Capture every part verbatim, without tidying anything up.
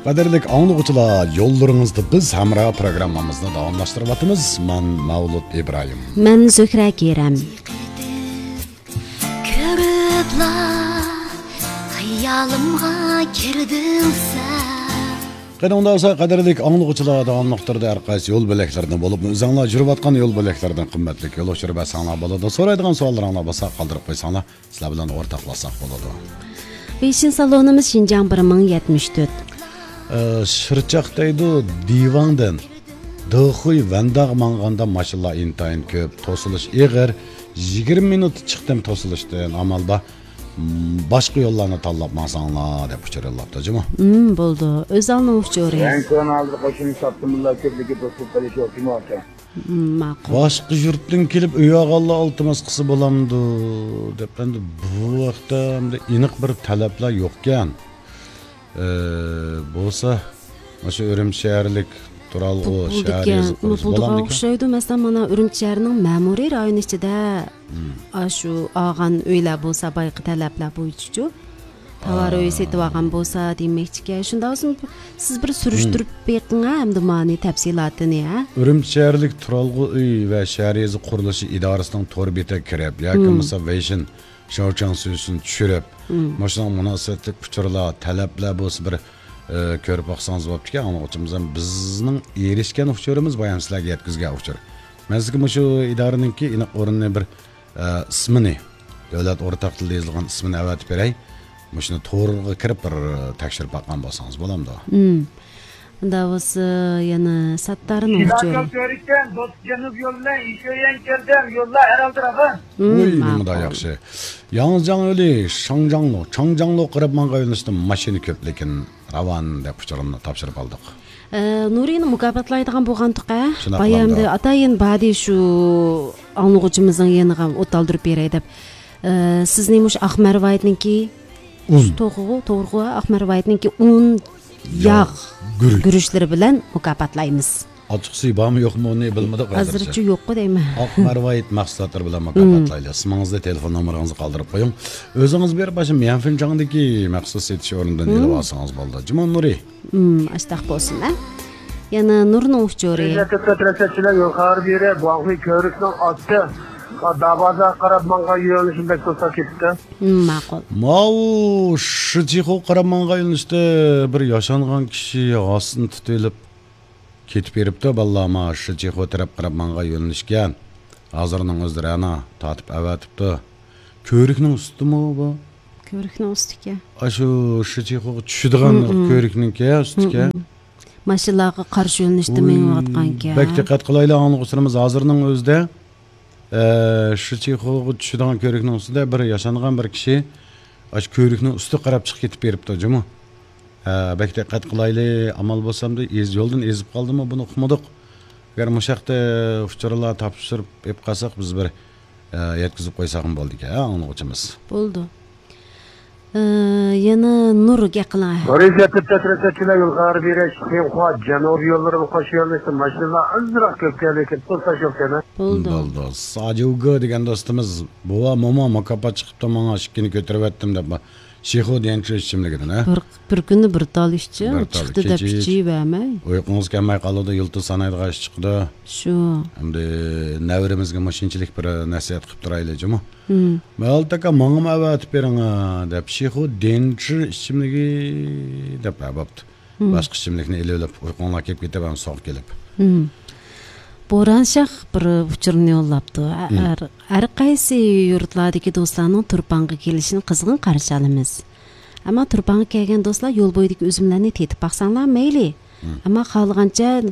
قەدىرلىك ئاڭلىغۇچىلار، يوللىرىڭىزدا بىز ھەمراھ پروگراممىمىزنى داۋاملاشتۇرۇۋاتىمىز. مەن مەۋلۇت ئىبراھىم. مەن زۆھرە كېرەم. كۆرۈپلا خىيالىمغا كىردىڭ سەن. قېنى ئۇنداق بولسا، قەدىرلىك ئاڭلىغۇچىلار، داۋاملىق تۈردە ھەر قايسى يول بۆلەكلىرىدىن بولۇپمۇ ئۆزۈڭلار يۈرۈۋاتقان يول بۆلەكلىرىدىن قىممەتلىك يول ئۇچۇرى بەرسەڭلار بولىدۇ. سورايدىغان سوئاللىرىڭلار بولسا قالدۇرۇپ قويساڭلار، سىلەر بىلەن ئورتاقلاشساق بولىدۇ. ۋېيشىن سالونىمىز شىنجاڭ بىر مىڭ يەتمىش تۆت. ئە، شىرچاق دەيدۇ دىۋاڭدىن دېخۇي ۋەنداغا ماڭغاندا ماشىنىلار ئىنتايىن كۆپ، توسۇلۇش ئېغىر. يىگىرمە مىنۇت چىقتىم توسۇلۇشتىن، ئامال بار، م، باشقا يوللارنى تاللاپ ماڭساڭلار، دەپ ئۇچۇر يوللاپتۇ جۇمۇ. ھىم، بولىدۇ. ئۆزەلنىڭ ئۇچۇرى. رەڭ كۆرۈن ھازىر قوشۇنى ساپتىمىللا كۆپلۈكى توسۇلۇپ قېلىشى ئوپتىمال ئىكەن. ھىم، ماقۇل. باشقا يۇرتتىن كېلىپ ئۆي ئالغانلار ئىلتىماس قىلسا بولامدۇ؟ دەپ، ئەمدى بۇ ھەقتە ئەمدى ئېنىق بىر تەلەپلەر يوقكەن. ئى، بولسا، مۇشۇ ئۈرۈمچى شەھەرلىك تۇرالغۇ، شەھەر يېزا قۇرۇلۇشى بولامدىكەن؟ ئوخشايدۇ. مەسىلەن، مانا ئۈرۈمچى شەھىرىنىڭ مەمۇرىي رايونى ئىچىدە، ھىم، ئاشۇ ئالغان ئۆيلەر بولسا، بايىقى تەلەپلەر بويىچىچۇ. تاۋار ئۆي سېتىۋالغان بولسا دېمەكچىكەن. شۇنداق بولسا، سىز بىر سۈرۈشتۈرۈپ بېقىڭ، ھە، ئەمدى مانى تەپسىلاتىنى، ھە. ئۈرۈمچى شەھەرلىك تۇرالغۇ ئۆي ۋە شەھەر يېزا قۇرۇلۇشى ئىدارىسىنىڭ تور بېتىگە كىرىپ ياكى بولمىسا ۋېيشىن شاۋچاڭ سۈيسۈن چۈشۈرۈپ، مۇشۇنىڭغا مۇناسىۋەتلىك ئۇچۇرلار، تەلەپلەر بولسا بىر، ئى، كۆرۈپ باقسىڭىز بوپتىكەن، ئاڭلىغۇچىمىز ھەم بىزنىڭ ئېرىشكەن ئۇچۇرىمىز، بايام سىلەرگە يەتكۈزگەن ئۇچۇر. مەن سىزگە مۇشۇ ئىدارىنىڭكى ئېنىق ئورنىنى بىر، ئى، ئىسمىنى، دۆلەت ئورتاق تىلدا يېزىلغان ئىسمىنى ئەۋەتىپ بېرەي. مۇشۇنى تورغا كىرىپ بىر تەكشۈرۈپ باققان بولسىڭىز بولامدۇ؟ ھىم. ئۇنداق بولسا يەنە ساتتارنىڭ ئۇچۇرى. شىداكەل كۆرۈككەن، دوستجانوف يولى بىلەن ئىشۆيەن كىردىم، يوللار ھەر ھالدا راۋان. ھىم، ۋۇي، ماقۇل. نېمىدا ياخشى. ياڭزىجاڭ يولى، شاڭجاڭلۇ، چاڭجاڭلۇ قاراپ ماڭغان يۆنىلىشتە ماشىنا كۆپ، لېكىن راۋان دەپ ئۇچۇرنى تاپشۇرۇپ ئالدۇق. ئە، نۇرىنى مۇكاپاتلايدىغان بولغانتۇق، ئە؟ شۇنداق بايامدى بولامدۇ؟ ئاتايىن بادى شۇ ئاڭلىغۇچىمىزنىڭ يېنىغا ئوت ئالدۇرۇپ بېرەي دەپ. ئە، سىزنى مۇشۇ ئاقمەر ۋايىتنىڭكى ئۇن. توغرىغۇ، توغرىغۇ، ئاقمەر ۋايىتنىڭكى ئۇن، ياغ، ياغ، گۈرۈچ. گۈرۈچلىرى بىلەن مۇكاپاتلايمىز. ئاچچىقسى بارمۇ يوقمۇ، ئۇنى بىلمىدۇق ھازىرچە. ھازىرچە يوققۇ دەيمەن. ئاقمەر ۋايىت مەھسۇلاتلىرى بىلەن مۇكاپاتلايلى. ئىسمىڭىزنى، تېلېفون نومۇرىڭىزنى قالدۇرۇپ قويۇڭ. ئۆزىڭىز بېرىپ، باشا ميەنفېنچاڭدىكى مەخسۇس سېتىش ئورنىدىن ئېلىپ ئالسىڭىز بولدى. جۇما نۇرى. ھىم، ئاشتاق بولسۇن، ھە؟ يەنە نۇرنىڭ ئۇچۇرى. يول خەۋىرى بېرە، گۇاڭخۇي كۆۋرۈكنىڭ ئاستى، دابازا قاراپ ماڭغان يۆنىلىشىم بەك توسا كېتىپتۇ. ھىم، ماقۇل. ماۋۇ شىچىخو قاراپ ماڭغان يۆنىلىشتە بىر ياشانغان كىشى غاسىنى تۇتۇۋېلىپ كېتىپ بېرىپتۇ، بالىلار. ما شىچىخو تەرەپ قاراپ ماڭغان يۆنىلىشكەن. ھازىرنىڭ ئۆزىدە رەنا تارتىپ ئەۋەتىپتۇ. كۆۋرۈكنىڭ ئۈستىمۇ بۇ؟ كۆۋرۈكنىڭ ئۈستىكەن. ئاشۇ شىچىخوغا چۈشىدىغان كۆۋرۈكنىڭكى ئۈستىكەن. ماشىنىلارغا قارشى يۆنىلىشتە مېڭىۋاتقانكەن. بەك دىققەت قىلايلى، ئاڭلىغۇچىلىرىمىز ھازىرنىڭ ئۆزىدە، ئە، شىچىخوغا چۈشىدىغان كۆۋرۈكنىڭ ئۈستىدە بىر ياشانغان بىر كىشى ئاشۇ كۆۋرۈكنىڭ ئۈستىگە قاراپ چىقىپ كېتىپ بېرىپتۇ جۇمۇ. ئە، بەك دىققەت قىلايلى، ئامال بولسامدۇ، ئىز-، يولدىن ئېزىپ قالدىمۇ، بۇنى ئۇقمىدۇق. ئەگەر مۇشۇ ھەقتە ئۇچۇرلار تاپشۇرۇپ ئېلىپ قالساق، بىز بىر، ئە، يەتكۈزۈپ قويساقمۇ بولىدىكەن، ئاڭلىغۇچىمىز. بولىدۇ. ئە، يەنە نۇر گەپ قىلىڭ. بىرىنچى تەتۈر تەتۈرەتچىلەر يول خەۋىرى بېرىش، خىڭخۇا، جەنۇبىي يوللىرىمۇ قوشۇپ يۆنىلىشتە ماشىنىلار ئازراق كۆپ كەلدى، كېتىپ تۇرسا شۇ كەنە. بولدى. بولدى. ساجۇگې دېگەن دوستىمىز، بوۋا، موما مۇكاپات چىقىپتۇ ماڭا، ئىككىنى كۆتۈرۈۋەتتىم دەپ، شىخۇ ديەنچۈ ئىچىملىكىدىن، ھە؟ بىر، بىر كۈندە بىر تال ئىچسە، بىر تال، چىقتى دەپ كېچە ئىچ-، ئىچىۋەرمەي. ئۇيقۇڭىز كەلمەي قالىدۇ، يۇلتۇز سانايدىغان ئىش چىقىدۇ. شۇ. ئەمدى نەۋرىمىزگە مۇشۇنچىلىك بىر نەسىھەت قىلىپ تۇرايلى جۇمۇ. مەۋلۇت ئاكا، ماڭىمۇ ئەۋەتىپ بېرىڭ، دەپ، شىخۇ ديەنچۈ ئىچىملىكى دەپ ئەۋەپتۇ. باشقا ئىچىملىكنى ئېلىۋېلىپ، ئۇيقۇڭلار كېلىپ كېتىپ، ھەم سوغۇق كېلىپ. بوران شاھ بىر ئۇچۇرنى يوللاپتۇ. ھەر، ھەر قايسى يۇرتلاردىكى دوستلارنىڭ تۇرپانغا كېلىشىنى قىزغىن قارشى ئالىمىز. ئەمما تۇرپانغا كەلگەن دوستلار يول بويىدىكى ئۈزۈملەرنى تېتىپ باقساڭلار مەيلى. ئەمما خالىغانچە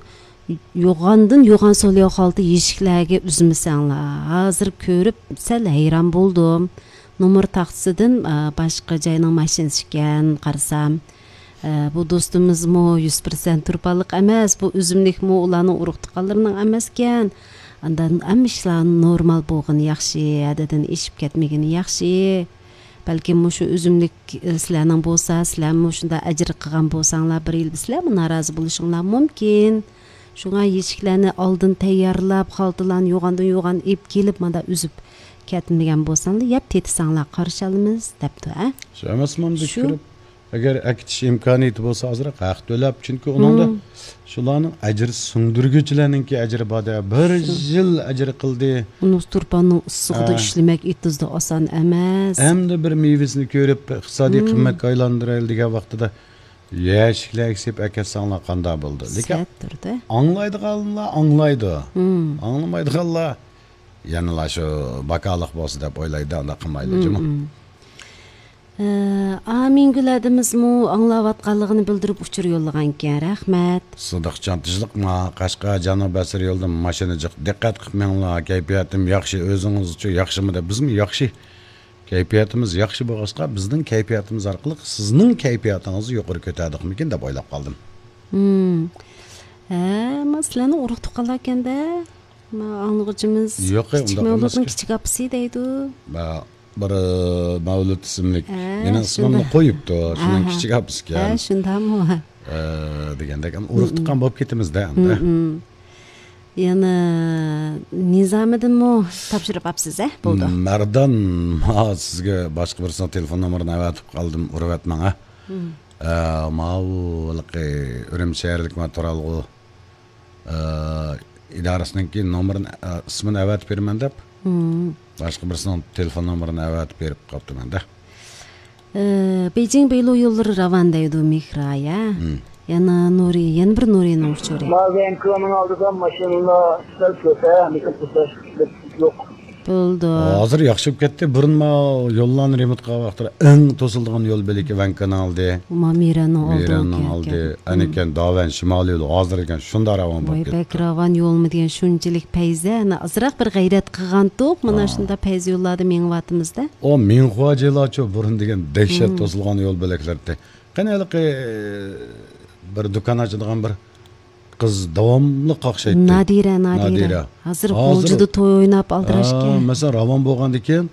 يوغاندىن يوغان سولىياۋ خالتا يېشىكلەرگە ئۈزمىسەڭلار. ھازىر كۆرۈپ سەل ھەيران بولدۇم. نومۇر تاختىسىدىن، ئا، باشقا جاينىڭ ماشىنىسى ئىكەن، قارىسام. ئە، بۇ دوستىمىزمۇ يۈز پىرسەنت تۇرپانلىق ئەمەس، بۇ ئۈزۈملۈكمۇ ئۇلارنىڭ ئۇرۇق-تۇغقانلىرىنىڭ ئەمەسكەن. ئاندىن ھەممە ئىشلار نورمال بولغىنى ياخشى، ھەددىدىن ئېشىپ كەتمىگىنى ياخشى. بەلكىم مۇشۇ ئۈزۈملۈك، ئە، سىلەرنىڭ بولسا، سىلەرمۇ شۇنداق ئەجىر قىلغان بولساڭلار، بىر يىل سىلەرمۇ نارازى بولۇشۇڭلار مۇمكىن. شۇڭا يېشىكلەرنى ئالدىن تەييارلاپ، خالتىلارنى يوغاندىن يوغان ئېلىپ كېلىپ، مانا ئۈزۈپ كەتمىگەن بولساڭلار، يەپ تېتىساڭلار، قارشى ئالىمىز، دەپتۇ، ھە؟ شۇ ئەمەسمۇ ئەمدى شۇ. كىرىپ، ئەگەر ئەكېتىش ئىمكانىيىتى بولسا، ئازراق ھەق تۆلەپ، چۈنكى ئۇنىڭدا شۇلارنىڭ ئەجىر سۇندۇرگۇچىلەرنىڭكى ئەجرى بار-دە، بىر يىل ئەجىر قىلدى. ئۇنىڭ تۇرپاننىڭ ئىسسىقىدا ئىشلىمەك ئېتىزدا ئاسان ئەمەس. ئەمدى بىر مېۋىسىنى كۆرۈپ، ئىقتىسادىي قىممەتكە ئايلاندۇرايلى دېگەن ۋاقتىدا يەشىكلەرگە سېلىپ ئەكەتسەڭلار قانداق بولىدۇ؟ لېكىن ئاڭلايدىغانلار ئاڭلايدۇ. ئاڭلىمايدىغانلار يەنىلا شۇ باكالىق بولسا دەپ ئويلايدۇ، ئانداق قىلمايدۇ جۇمۇ. ئە، ئامىنگۈل ھەدىمىزمۇ ئاڭلاۋاتقانلىقىنى بىلدۈرۈپ ئۇچۇر يوللىغانىكەن. رەھمەت. سىدىقجان، تىنچلىقما؟ قەشقەر جانۇ بەسىر يولىدىن ماشىنا جىق. دىققەت قىلىپ مېڭىڭلار، كەيپىياتىم ياخشى. ئۆزىڭىزچۇ، ياخشىمۇ دەپ؟ بىزمۇ ياخشى. كەيپىياتىمىز ياخشى بولغاچقا، بىزنىڭ كەيپىياتىمىز ئارقىلىق سىزنىڭ كەيپىياتىڭىزنى يۇقىرى كۆتەردۇقمىكىن دەپ ئويلاپ قالدىم. ھە، ما سىلەرنىڭ ئۇرۇق تۇغقانلاركەن-دە. ما ئاڭلىغۇچىمىز يوق، كىچىك ئۇنداق مەۋلۇتنىڭ ئەمەسكەن. كىچىك ئاپىسى دەيدۇ. ما بىر، ئە، مەۋلۇت ئىسىملىك. ھە، مېنىڭ ئىسمىمنى شۇنداق. قويۇپتۇ. شۇنىڭ ئاھا. كىچىك ئاپىسىكەن. ھە، شۇنداقمۇ؟ ئە، دېگەندەك، ئۇرۇق تۇغقان بولۇپ كېتىمىز-دە ئەمدى. يەنە نىزامىدىنمۇ تاپشۇرۇپ ئاپسىز، ھە، بولدى. مەردان، ما سىزگە باشقا بىرسىنىڭ تېلېفون نومۇرىنى ئەۋەتىپ قالدىم، ئۇرۇۋەتمەڭ، ھە. ئە، ماۋۇ ھېلىقى ئۈرۈمچى شەھەرلىك ما تۇرالغۇ، ئە، ئىدارىسىنىڭكى نومۇرىنى، ئە، ئىسمىنى ئەۋەتىپ بېرىمەن دەپ، باشقا بىرسىنىڭ تېلېفون نومۇرىنى ئەۋەتىپ بېرىپ قاپتىمەن-دە. ئى، بېيجىڭ بېيلۇ يوللىرى راۋان دەيدۇ مېھرايە. يەنە نۇرى، يەنە بىر نۇرىنىڭ ئۇچۇرى. ما ۋەنكۇۋېرنىڭ ئالدىدا ماشىنىلا سەل كۆپ، ھە، لېكىن توساش يوق. بولدى. ھازىر ياخشى بولۇپ كەتتى. بۇرۇن ما يوللارنى رېمونت قىلغان ۋاقىتلىرى ئەڭ توسۇلىدىغان يول بېلىكى ۋەنكۇۋېرنىڭ ئالدى. ما مىرەننىڭ ئالدى. مىرەننىڭ ئالدى. ئەنىكەن داۋەن شىمالىي يولى ھازىر ئىكەن شۇنداق راۋان بولۇپ كەتتى. ۋاي، بەك راۋان يولمۇ دېگەن شۇنچىلىك پەيزە. ئەنە ئازراق بىر غەيرەت قىلغانتۇق. مانا شۇنداق پەيزە يوللاردا مېڭىۋاتىمىز-دە. ئۇ مىڭخۇا جىلاچۇ بۇرۇن دېگەن دەھشەت توسۇلغان يول بۆلەكلىرى. قېنى ھېلىقى بىر دۇكان ئاچىدىغان بىر قىز داۋاملىق قاقشايتتى. نادىرە، نادىرە. نادىرە. ھازىر غۇلجىدا توي ئويناپ ئالدىراش ئىكەن. مەسىلەن، راۋان بولغاندىن كېيىن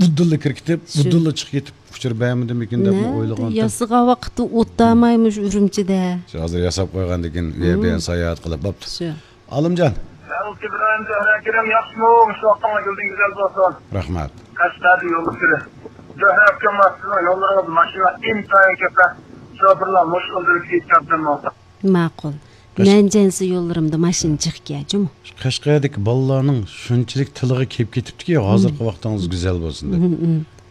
ئۇدۇللا كىرىپ كېتىپ، ئۇدۇللا چىقىپ كېتىپ، ئۇچۇر بەرمىدىمىكىن دەپمۇ ئويلىغان. ياسىغان ۋاقىتتا ئوتتاماي مۇشۇ ئۈرۈمچىدە. شۇ ھازىر ياساپ قويغاندىن كېيىن، ئۇ يەر بۇ يەرنى ساياھەت قىلىپ بوپتۇ. شۇ. ئالىمجان. ئەلكىبران، زۆھرە ئاكىنىم ياخشىمۇ؟ مۇشۇ ۋاقتىڭلار گۈلدىن گۈزەل بولسۇن. رەھمەت. قەشقەردىن يوللىشىرى. زۆھرە ئاكام، سىزنىڭ يوللىرىڭىز ماشىنا ئىنتايىن كۆپ. شوپۇرلار مۇشۇ يولدىن كېتىپ كەتتىمۇ؟ ماقۇل. قەش- نەنجەنسى يوللىرىمدا ماشىنا جىقكەن جۇمۇ. قەشقەردىكى بالىلارنىڭ شۇنچىلىك تىلىغا كېلىپ كېتىپتىكى، ھازىرقى ۋاقتىڭىز گۈزەل بولسۇن دەپ.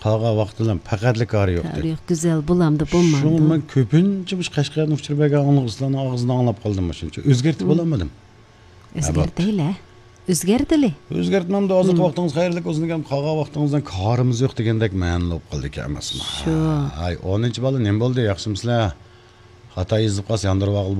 قالغان ۋاقىتلار پەقەتلا كارى يوق. كارى يوق، گۈزەل بولامدۇ، بولمامدۇ؟ شۇڭا مەن كۆپىنچە مۇشۇ قەشقەردىن ئۇچۇر بەرگەن ئاڭلىغۇچىلارنىڭ ئاغزىدىن ئاڭلاپ قالدىم مۇشۇنچە. ئۆزگەرتىپ بولالمىدىم. ئۆزگەرتەيلى. ئۆزگەرتىلى. ئۆزگەرتمەمدۇ، ھازىرقى ۋاقتىڭىز خەيرلىك بولسۇن دېگەن، قالغان ۋاقتىڭىزدىن كارىمىز يوق دېگەندەك مەنىلىك بولۇپ قالدىكەن ئەمەسمۇ؟ شۇ. ھاي، ئونىنچى بالا نېمە بولدى، ياخشىمۇسىلەر؟ خاتا يېزىپ قالسا ياندۇرۇۋالغىلى